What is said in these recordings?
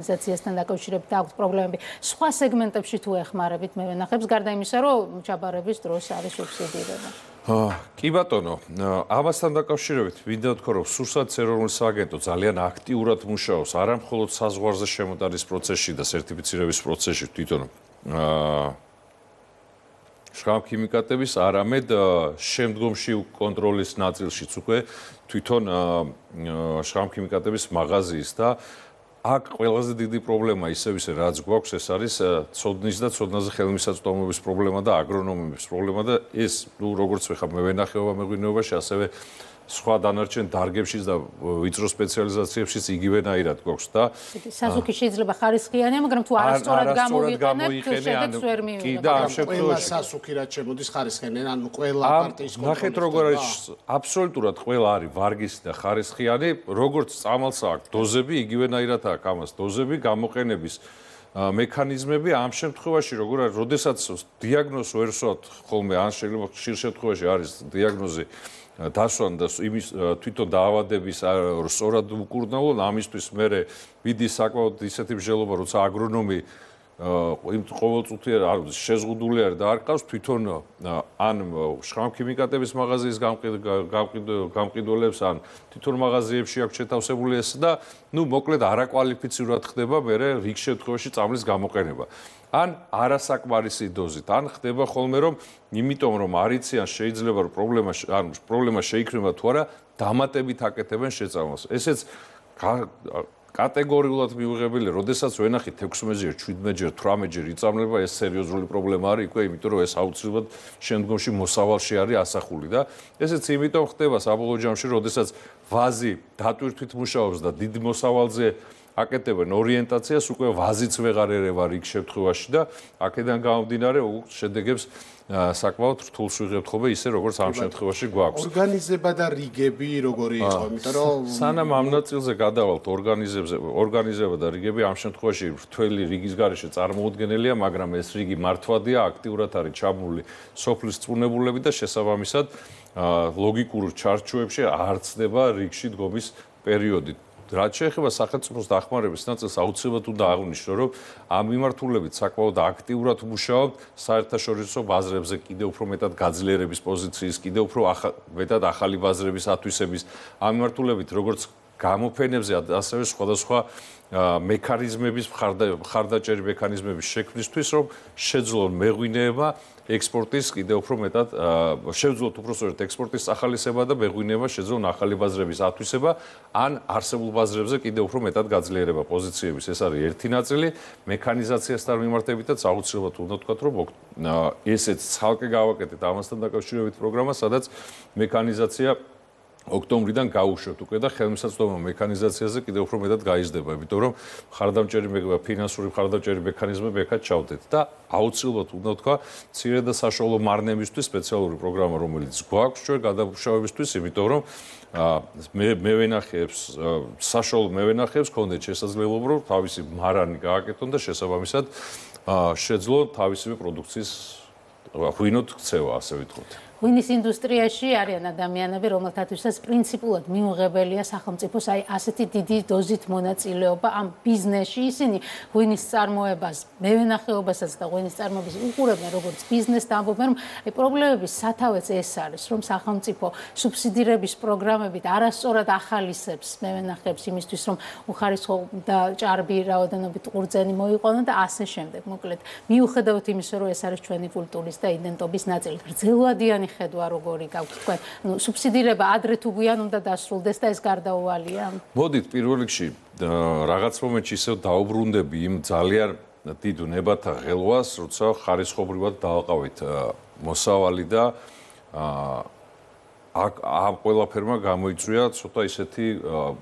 ორგანიზაციასთან დაკავშირებით აქვს პრობლემები. სხვა სეგმენტებში თუ ეხმარებით მე ვენახებს გარდა იმისა, რომ ჩაბარების დროს არის სუბსიდირება. კი ბატონო, ამასთან დაკავშირებით მინდა ვთქვა, რომ სურსათის ეროვნული სააგენტო ძალიან აქტიურად მუშაობს არა მხოლოდ საზღვარზე შემოტანის პროცესში და სერტიფიცირების პროცესში თვითონ შრამქიმიკატების, არამედ შემდგომში კონტროლის ნაწილშიც უკვე თვითონ შრამქიმიკატების მაღაზიის და აქ ყველაზე დიდი პრობლემა ისევ რაც გვაქვს ეს არის ცოდნის და ცოდნაზე ხელმისაწვდომობის პრობლემა და აგრონომების პრობლემა და ეს როგორც ვეხა მევენახეობა მეღვინეობაში ასევე სხვა დანარჩენ დარგებშიც და ვიწრო სპეციალიზაციებშიც იგივენაირად გვაქვს და სასუქი შეიძლება ხარისხიანია, მაგრამ თუ არასწორად გამოვიყენებთ, შედეგს ვერ მივიღებთ. კი და ამ შემთხვევაში სასუქი რაც შემოდის ხარისხიანი, ანუ ყველა პარტიის კონტროლი. ნახეთ როგორ არის აბსოლუტურად ყველა არის ვარგისი და ხარისხიანი, როგორც წამალს აქვს დოზები, იგივენაირად აქვს ამას დოზები, გამოყენების მექანიზმები ამ შემთხვევაში როგორ არის, როდესაც დიაგნოზს ვერ ვსვათ ხოლმე, ან შეიძლება ხშირ შემთხვევაში არის დიაგნოზი დასვან და იმის თვითონ დაავადების სწორად უკურნალო, ამისთვის მე ვიდი საკმაოდ ისეთი მსჯელობა, როცა აგრონომი იმ ყოველწუთიერ შეზღუდული არის და არ ყავს თვითონ ან შრამქიმიკატების მაღაზიის გამყიდველებს, ან თვითონ მაღაზიებში აქვს შეთავსებული ეს და მოკლედ არაკვალიფიცირად ხდება მე რიგ შემთხვევაში წამლის გამოყენება. ან არასაკმარისი დოზით, ან ხდება ხოლმე რომ იმიტომ რომ არ იციან შეიძლება რომ პრობლემა შეიქმნება თუ არა, დამატებით აკეთებენ შეწამლას. ესეც კატეგორიულად მიუღებელია, როდესაც ვენახით 16-ჯერ, 17-ჯერ, 18-ჯერ იწამლება, ეს სერიოზული პრობლემა არის უკვე, იმიტომ რომ ეს აუცილებლად შემდგომში მოსავალში არის ასახული და ესეც იმიტომ ხდება საბოლოო ჯამში, როდესაც ვაზი დატვირთვით მუშაობს და დიდ მოსავალზე აკეთებენ ორიენტაციას, უკვე ვაზიც ვეღარ ერევა რიგ შემთხვევაში და აქედან გამომდინარე შედეგებს საკმაოდ რთულს ვიღებთ ხოლმე ისე როგორც ამ შემთხვევაში გვაქვს. ორგანიზება და რიგები როგორი იყო, იმიტომ რომ სანამ ამ ნაწილზე გადავალთ ორგანიზება და რიგები ამ შემთხვევაში რთველი რიგის გარეშე წარმოუდგენელია, მაგრამ ეს რიგი მართვადია, აქტიურად არის ჩაბმული სოფლის წვუნებულები და შესაბამისად ლოგიკურ ჩარჩოებში არ ცდება რიგში დგომის პერიოდი. რაც შეეხება სახელმწიფოს დახმარების ნაწილს, აუცილებლად უნდა აღვნიშნო, რომ ამ მიმართულებით საკმაოდ აქტიურად მუშაობთ საერთაშორისო ბაზრებზე, კიდევ უფრო მეტად გაძლიერების პოზიციის, კიდევ უფრო მეტად ახალი ბაზრების ათვისების, ამ მიმართულებით როგორც გამოფენებზე, ასევე სხვადასხვა მექანიზმების მხარდაჭერი მექანიზმების შექმნისთვის, რომ შეძლონ მეღვინეება ექსპორტის კიდევ უფრო მეტად შევძლოთ უпроსტოდ ექსპორტის ახალისება და მეღვინეება შეძლონ ახალი ბაზრების ათვისება, ან არსებულ ბაზრებზე კიდევ უფრო მეტად გაძლიერება პოზიციების. ეს არის ერთი ნაწილი, მექანიზაციასთან მიმართებითაც აუცილებლად უნდა ვთქვათ, რომ ესეც ცალკე გავაკეთეთ ამასთან დაკავშირებით პროგრამა, სადაც მექანიზაცია ოქტომბრიდან გაუშვებთ უკვე და ხელმისაწვდომობა მექანიზაციაზე კიდევ უფრო მეტად გაიზრდება, იმიტომ რომ ფინანსური მხარდამჭერი მექანიზმები ეკაც ჩავდეთ და აუცილებლად უნდა ვთქვა, მცირე და საშუალო მარნებისთვის სპეციალური პროგრამა, რომელიც გვაქვს ჩვენ გადამუშავებისთვის, იმიტომ რომ მევენახეებს, საშუალო მევენახეებს ჰქონდეთ შესაძლებლობა, რომ თავისი მარანი გააკეთონ და შესაბამისად შეძლონ თავისივე პროდუქციის ღვინოთ ქცევა, ასე ვიტყოთ. ღვინის ინდუსტრიაში არიან ადამიანები, რომელთათვისაც პრინციპულად მიუღებელია სახელმწიფოს ასეთი დიდი დოზით მონაწილეობა ამ ბიზნესში. ისინი ღვინის წარმოებას, მევენახეობასაც და ღვინის წარმოებას უყურებენ როგორც ბიზნესს და ამბობენ, რომ პრობლემების სათავეც ეს არის, რომ სახელმწიფო სუბსიდირების პროგრამებით არასწორად ახალისებს მევენახეებს იმისთვის, რომ უხარისხო და ჭარბი რაოდენობით ყურძენი მოიყვანონ და ასე შემდეგ. მოკლედ, მიუხედავად იმისა, რომ ეს არის ჩვენი კულტურის და იდენტობის ნაწილი, გრძელვადიანი ხედვა როგორი გაქვთ თქვენ? სუბსიდირება ადრე თუ გვიან უნდა დასრულდეს და ეს გარდაუვალია? მოდით პირველ რიგში რაღაც მომენტში ისევ დაუბრუნდები იმ ძალიან დიდ ნებათა ღელვას, როცა ხარისხობრივად დააყავით მოსავალი და ამ ყველაფერმა გამოიწვია ცოტა ისეთი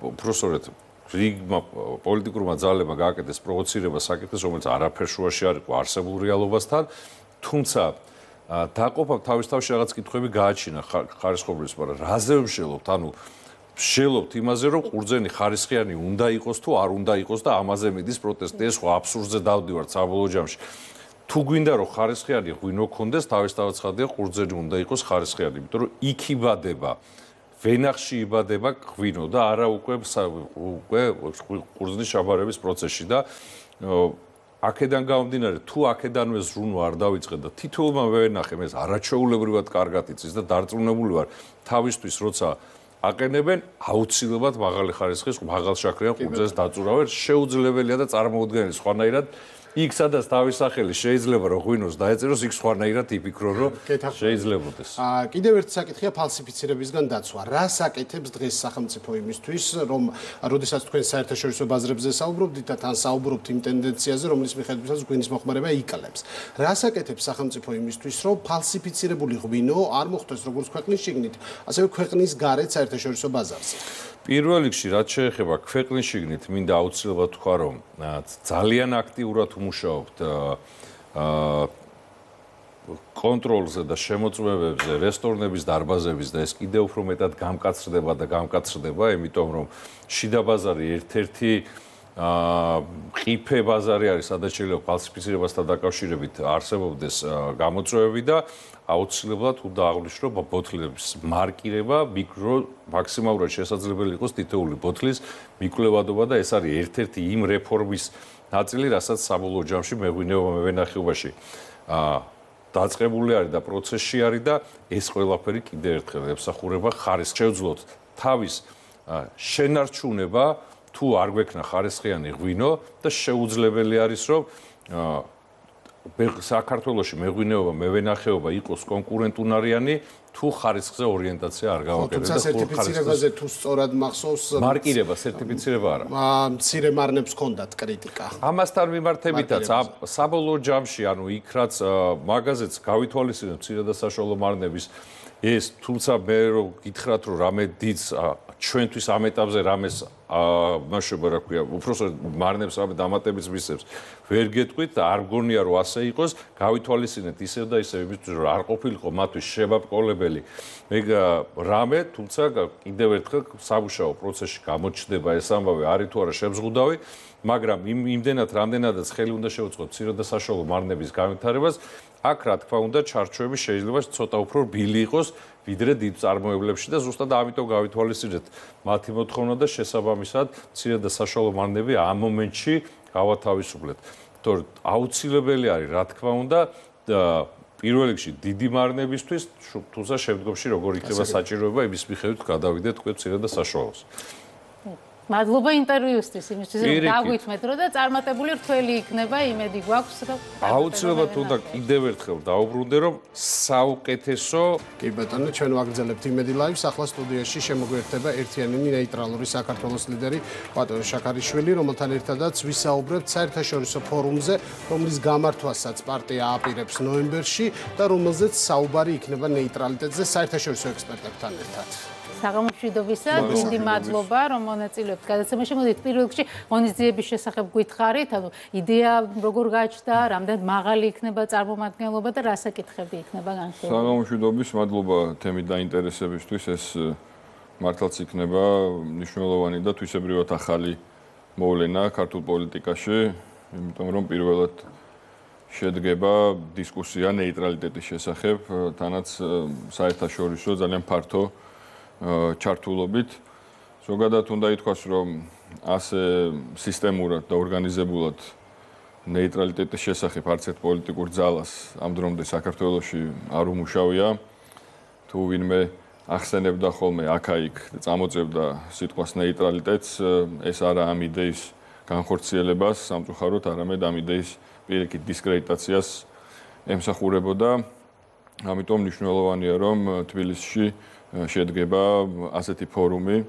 უბრალოდ რიგმა პოლიტიკურმა ძალებმა გააკეთეს პროვოცირება საკითხის, რომელიც არაფერ შუაში არ იყო არსებულ რეალობასთან, თუმცა დაყოფა თავის-თავში რაღაც კითხვები გააჩინა ხარისხობრივს, მაგრამ რაზე ვშელობთ? ანუ ვშელობთ იმაზე, რომ ყურძენი ხარისხიანი უნდა იყოს თუ არ უნდა იყოს და ამაზე მიდის პროტესტი. ეს ხო აბსურდზე დავდივართ საბოლოო ჯამში. თუ გვინდა რომ ხარისხიანი ღვინო გქონდეს, თავის-თავად ცხადია, ყურძენი უნდა იყოს ხარისხიანი, იმიტომ რომ იქ იბადება ვენახში იბადება ღვინო და არა უკვე ყურძნის ჩაბარების პროცესში და აქედან გამომდინარე თუ აქედანვე ზრუნვა არ დავიწყე და თითოეულმა ვენახე მე არაჩვეულებრივად კარგად იცის და დარწმუნებული ვარ თავისთვის როცა აყენებენ აუცილებლად მაღალი ხარისხის მაღალ შაქრიან ყურძენს დაწურავენ შეუძლებელია და წარმოუდგენელი სხვანაირად იქ სადაც თავის სახელი შეიძლება რომ ღვინოს დაეწეროს იქ სხვანაირად იფიქრო რომ შეიძლებოდეს. კიდევ ერთი საკითხია ფალსიფიცირებისგან დაცვა. რა საკეთებს დღეს სახელმწიფო იმისთვის რომ როდესაც თქვენ საერთაშორისო ბაზრებზე საუბრობთ და თან საუბრობთ იმ ტენდენციაზე რომლის მიხედვითაც ღვინის მოხმარება იკლებს. რა საკეთებს სახელმწიფო იმისთვის რომ ფალსიფიცირებული ღვინო არ მოხვდეს როგორც ქვეყნის შიგნით ასევე ქვეყნის გარეთ საერთაშორისო ბაზარზე. პირველ რიგში რაც შეეხება ქვეყნის შიგნით მინდა აუცილებლად თქვა რომ ძალიან აქტიურად ვმუშაობთ კონტროლზე და შემოწმებებზე რესტორნების დარბაზების და ეს კიდევ უფრო მეტად გამკაცრდება, იმიტომ რომ შიდა ბაზარი ერთ-ერთი ყიფე ბაზარი არის, სადაც შეიძლება ფალსიფიცირებასთან დაკავშირებით არსებობდეს გამოწვევები და აუცილებლად უნდა აღვნიშნო ბოთლების მარკირება, მაქსიმალურად შესაძლებელი იყოს თითოეული ბოთლის მიკვლევადობა და ეს არის ერთ-ერთი იმ რეფორმის ნაწილი, რასაც საბოლოო ჯამში მეღვინეობა მევენახეობაში დაწყებული არის და პროცესში არის და ეს ყველაფერი კიდევ ერთხელ ემსახურება ხარისხს. შევძლოთ თავის შენარჩუნება თუ არ გვექნა ხარისხიანი ღვინო და შეუძლებელი არის რომ საქართველოში მეღვინეობა, მევენახეობა იყოს კონკურენტუნარიანი თუ ხარისხზე ორიენტაცია არ გავაკეთებთ და სერტიფიცირებაზე თუ სწორად მახსოვს მარკირება, სერტიფიცირება არა. მცირე მარნებს ჰქონდათ კრიტიკა. ამასთან მიმართებითაც საბოლოო ჯამში, ანუ იქ რაც მაღაზიაც გავითვალისწინებს მცირე და საშუალო მარნების ეს, თუმცა მე რო გითხრათ რომ რამე დიდს ჩვენთვის ამ ეტაპზე რამეს მაშობა რა ქვია, უბრალოდ მარნებს რამე დამატებიც მისცემს. ვერ გეტყვით და არ მგონია რომ ასე იყოს, გავითვალისწინეთ ისევ და ისევ იმისთვის რომ არ ყოფილიყო მათთვის შემაბყოლებელი მე რამე, თუმცა კიდევ ერთხელ სამუშაო პროცესში გამოჩნდება ეს ამბავი, არის თუ არა შემზღუდავი, მაგრამ იმდენად რამდენადაც ხელი უნდა შევუწყოთ მცირე და საშუალო მარნების განვითარებას, აქ რა თქმა უნდა ჩარჩოები შეიძლება ცოტა უფრო რბილი იყოს ვიდრე დიდ წარმოებლებში და ზუსტად ამიტომ გავითვალისწინეთ მათი მოთხოვნა და შესაბამისად მცირე და საშუალო მარნები ამ მომენტში გავათავისუფლეთ. თორე აუცილებელი არის რა თქმა უნდა პირველ რიგში დიდი მარნებისთვის, თუმცა შემდგომში როგორ იქნება საჭიროება იმის მიხედვით გადავიდეთ თქვენ მცირე და საშუალოს. მადლობა ინტერვიუსთვის, იმისთვის რომ დაგვითმეთ რომ და წარმატებული რთველი იქნება, იმედი გვაქვს რომ აუცილებლად უნდა კიდევ ერთხელ დავუბრუნდე რომ საუკეთესო კი ბატონო, ჩვენ ვაგრძელებთ იმედი ლაივს, ახლა სტუდიაში შემოგვიერთება ერთიანიანი ნეიტრალური საქართველოს ლიდერი ბატონ შაქარიშვილი, რომელთან ერთადაც ვისაუბრებთ საერთაშორისო ფორუმზე, რომლის გამართვასაც პარტია აპირებს ნოემბერში და რომელზეც საუბარი იქნება ნეიტრალიტეტზე საერთაშორისო ექსპერტებთან ერთად. საღამომშვიდობისა, დიდი მადლობა, რომ მონაწილეობთ გადაცემაში. მოდით პირველ რიგში ღონისძიების შესახებ გითხარით, ანუ იდეა როგორ გაჩნდა, რამდენად მაღალი იქნება წარმომადგენლობა და რა საკითხები იქნება განხილული. საღამომშვიდობის, მადლობა თემით დაინტერესებისთვის. ეს მართლაც იქნება მნიშვნელოვანი და თვისებრივად ახალი მოვლენა ქართულ პოლიტიკაში, იმიტომ რომ პირველად შედგება დისკუსია ნეიტრალიტეტის შესახებ, თანაც საერთაშორისო ძალიან ფართო ჩართულობით. ზოგადად უნდა ითქვას, რომ ასე სისტემურად და ორგანიზებულად ნეიტრალიტეტის შესახებ არც ერთ პოლიტიკურ ძალას ამ დრომდე საქართველოში არ უმუშავია. თუ ვინმე ახსენებდა ხოლმე აქა-იქ და წამოწევდა სიტყვას ნეიტრალიტეტს, ეს არა ამ იდეის განხორციელებას სამწუხაროდ, არამედ ამ იდეის პირიქით დისკრედიტაციას ემსახურებოდა. ამიტომ მნიშვნელოვანია, რომ თბილისში შედგება ასეთი ფორუმი,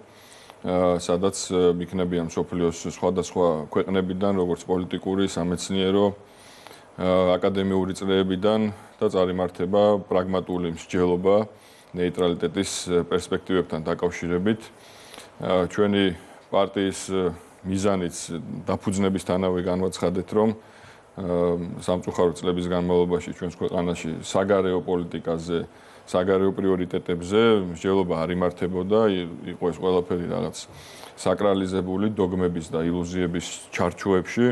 სადაც იქნებიან მსოფლიოს სხვადასხვა ქვეყნებიდან, როგორც პოლიტიკური, სამეცნიერო, აკადემიური წრეებიდან და წარიმართება პრაგმატული მსჯელობა ნეიტრალიტეტის პერსპექტივებთან დაკავშირებით. ჩვენი პარტიის მიზანიც დაფუძნებისთანავე განვაცხადეთ, რომ სამწუხაროდ წლების განმავლობაში ჩვენს ქვეყანაში საგარეო პოლიტიკაზე, საგარეო პრიორიტეტებზე მსჯელობა არ იმართებოდა, იყო ეს ყველაფერი რაღაც საკრალიზებული დოგმების და ილუზიების ჩარჩოებში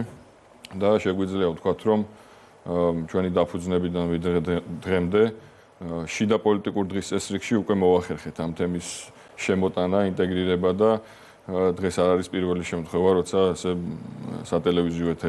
და შეგვიძლია ვთქვათ, რომ ჩვენი დაფუძნებიდან ვიდრე დღემდე შიდა პოლიტიკურ დღის წესრიგში უკვე მოვახერხეთ ამ თემის შემოტანა, ინტეგრირება და დღეს არ არის პირველი შემთხვევა, როცა ასე სატელევიზიო ეთერი